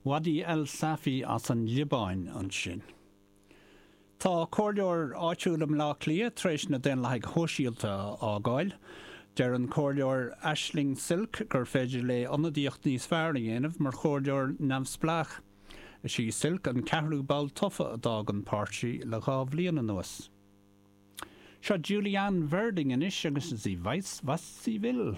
Wadih El Safi as an Liobáin ansin. Tá comhairleoir áitiúil i mBleá Cliath tar éis na Daonlathaigh Shóisialta a fhágáil. Deir an comhairleoir Aisling Silke gur féidir léi ionadaíocht níos fearr a dhéanamh mar chomhairleoir neamhspleách. Is í Silke an ceathrú ball tofa a d'fhág an páirtí le dha bhliain anuas. Seo Julie Anne Verding anois agus Sie weiß, was sie will.